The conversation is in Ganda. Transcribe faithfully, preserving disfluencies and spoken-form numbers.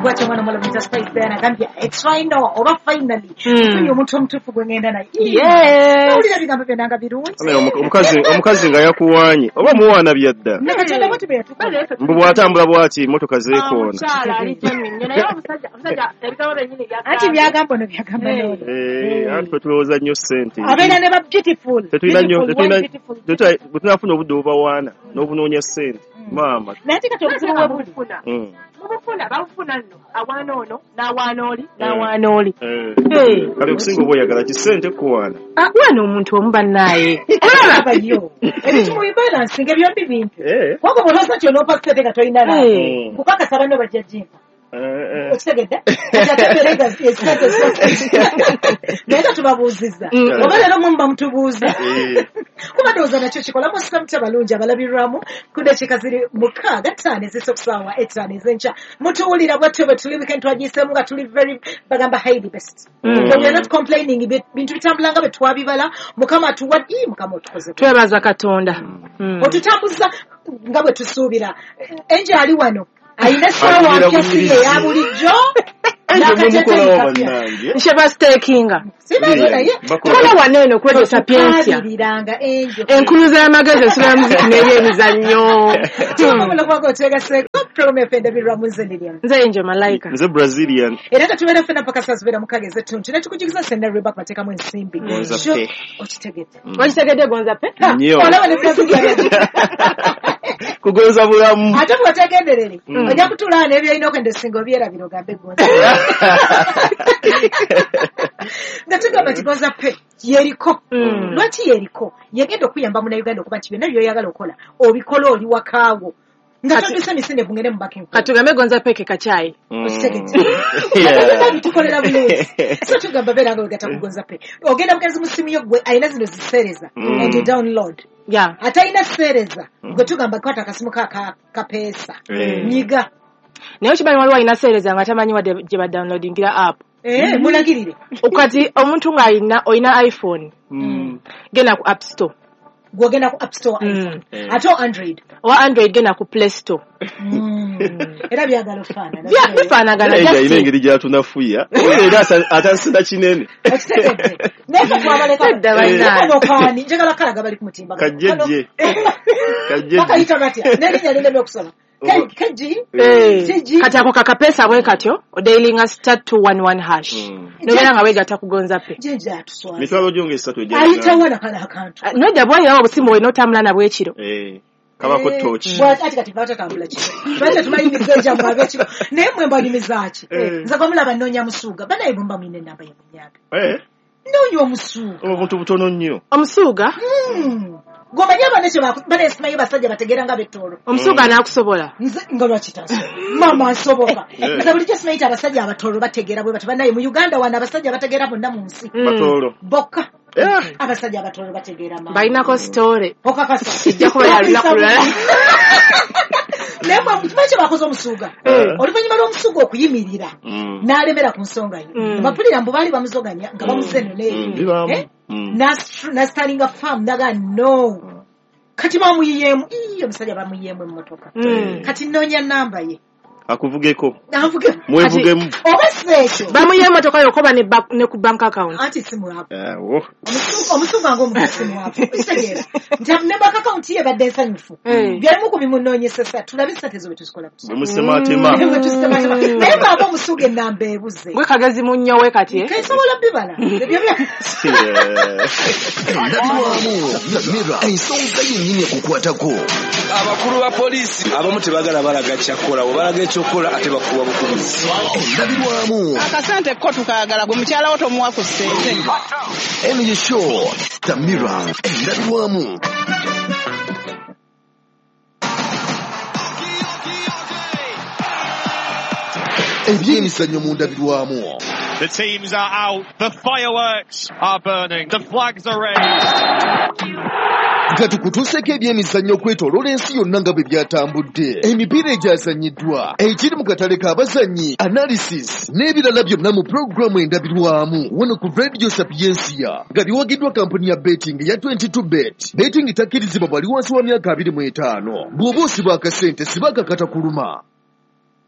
Bwatyo omwana omuwala muyita Spice Diana agambye it's final oba finally nfunye omuntu omutuufu gwe ngenda naye. Owulira ebigambo byonna nga birungi. Omukazi omukazi nga yakuwanye oba muwaana byadda. Ne Katonda bw'atyo bwe yatukola. Mbu bw'atambula bw'ati emmotoka zeekoona. Omukyala ali genuine nnyo naye omusajja omusajja ebigambo byennyini byagamba. Anti byagamba ono byagamba n'ono. Eh, anti ffe tulowooza nnyo ssente. Abeera ne ba beautiful. Tetulina nnyo tetulina bwe tunaafuna obudde obubawaana n'obunoonya ssente. Maama. Naye ate kati obuzibu bwe buli. Mubufuna babufuna nno awaana ono n'awaana oli n'awaana oli. Kale okusinga oba oyagala ki ssente kuwaana? Waana omuntu omu bannaaye. Olaba yo. Ebintu mu bibalansinga byombi bintu. Kubanga bw'olowooza nti onoopa ssente nga tolina laavu, nkukakasa banno bajja gimpa. Okitegedde? Naye nga tubabuuzizza. Oba leero mwe muba mutubuuza. Kuba ndowooza nakyo kikola musika mutya balungi abalabirwamu ku ddakiika ziri mukaaga ttaano ez'oku ssaawa ettaano ez'enkya. Mutuwulira bwatyo bwe tuli weekend twagiyiseemu nga tuli very bagamba highly best. So we are not complaining, bintu bitambula nga bwe twabibala. Mukama atuwa ii Mukama otukoze. Twebaza Katonda. Otutambuza nga bwe tusuubira. Enje ali wano. Ayina essaawa mpya si eya bulijjo. Nsheba stakinga. Kola wano eno kwejo sapientia. Enkuluza y'amagezi ensula ya muziki n'ebyemizannyo. Nze Angel Malaika. Nze Brazilian. Era nga tubeera ffenna mpaka saa zibeera mukaaga ez'ettuntu. Ne tukujugiza Senda Rebecca bateekamu ensimbi. Gonza pe. Okitegedde. Okitegedde Gonza pe? Olaba ne Brazilian. Kugonza bulamu. Ate bw'otegenderere ojja kutuula n'ebyolina okwenda esinga obyerabira ogambe Gonza. Nga tugamba nti Gonza Pay yeriko. Lwaki yeriko? Yegenda okuyamba munnayuganda okuba nti byonna by'oyagala okola obikola oli wakaawo. Nga toduse misinde bungere mu banking. Katugambe Gonza Pay ke kacaayi. Okitegedde. Nga bitukolera bulungi. So tugamba beera nga wegatta ku Gonza Pay. Ogenda bugenzi mu ssimu yo gwe alina zino ziseereza and you download. Yeah. Ate alina seereza gwe tugamba kwata akasimu ka kapeesa. Nyiga. Naye okimanyi waliwo alina seereza nga tamanyi wadde gye badownloadingira app. Eh, mulagirire. Kati omuntu ng'alina olina iPhone. Genda ku App Store. Gwogenda ku App Store iPhone. Ate Android. Owa Android genda ku Play Store. Era byagala ofaanana. Bifaanagana. Alina engeri gy'atunafuya. Era atasida kinene. Okitegedde. Naye ffe twabaleka. Kano kaani njagala kalaga bali ku mutimbagano. Kajjejje. Kajjejje. Bakayita batya? N'erinnya linemye okusoma. Keji. Kati ako kakapesa bwe katyo odailinga star two one one hash. Nobeera nga weegatta ku Gonza Pay. Jjajja atuswaza. Mitwalo gyonge esatu egya. Ayitawo na kano akantu. Nedda bw'ayinawo obusimu olina otambula nabwo ekiro. Kabako tochi. Ati kati batatambula kiro. Lwaki tetumayimiza egyammwe ab'ekiro? Naye mmwe mbanyumiza ki? Nze gwe mulaba nnoonya musuuga. Banaye bwe mba mulina ennamba ye munyange. Nnoonya omusuuga. Obuntu butono nnyo. Omusuuga? Gwomanyi abaana kye banaye simanyi basajja bategeera nga b'ettoolo. Omusuuga anaakusobola? Nze nga lwaki tansobola? Maama nsoboka. Nze bulijjo simanyi nti abasajja abatoolo bategeera bwe batyo. Bannaye mu Uganda wano abasajja bategeera bonna mu nsi. Batoolo. Bokka. Abasajja abatoolo bategeera maama. Balinako sitore. Okakasa. Ejja kuba ya lunaku lulala. Naye kimanyi kye bakoze omusuuga? Oluvannyuma lw'omusuuga okuyimirira n'alemera ku nsonga ye. Bapulira mbu baali bamuzoganya nga bamuze eno n'eri. N'asitalinga faamu n'agamba no. Kati bamuyiyeemu. Ii omusajja bamuyiyeemu emmotoka. Kati nnoonya nnamba ye. Akuvugeko. Anvuge. Mwevugemu. Oba si ekyo. Bamuyiye emmotoka yokka oba ne ku bank account. Anti si mwavu. Omusuuga ng'omuntu si mwavu. Okitegeera. Nti ne bank account ye ebadde nsanyufu. Byalimu ku bimunoonyesesa. Tulabe ssente ezo bwe tuzikola. Bwe musemaatema. Bwe tusemaatema. Naye bw'aba omusuuga ennamba ebuze. Gwe kagezi munnyo we kati. Kensobola bibala. Ebyo bya. Endabirwamu Mirror ensonga yennyini ekukwatako. Abakulu ba poliisi abamu tebagala balaga kyakola bwe balaga ekyokukola ate bakuwa bukubizi. Endabirwamu. Akasente ko tukaagala gwe mukyala wo tomuwa ku ssente. Eno ye show The Mirror endabirwamu. Ebyemizannyo mu ndabirwamu. The teams are out, the fireworks are burning, the flags are raised. Nga tukutuuseeko ebyemizannyo okwetooloola ensi yonna nga bwe byatambudde. Emipiira egyazannyiddwa, ekiri mu katale k'abazannyi, analysis n'ebirala byonna mu pulogulaamu endabirwamu wano ku Radio Sapientia nga biwagiddwa kampuni ya betting ya twenty-two bet. Betting takkirizibwa bwali wansi wa myaka abiri mu etaano. Bw'oba osiba akasente siba akakata kuluma.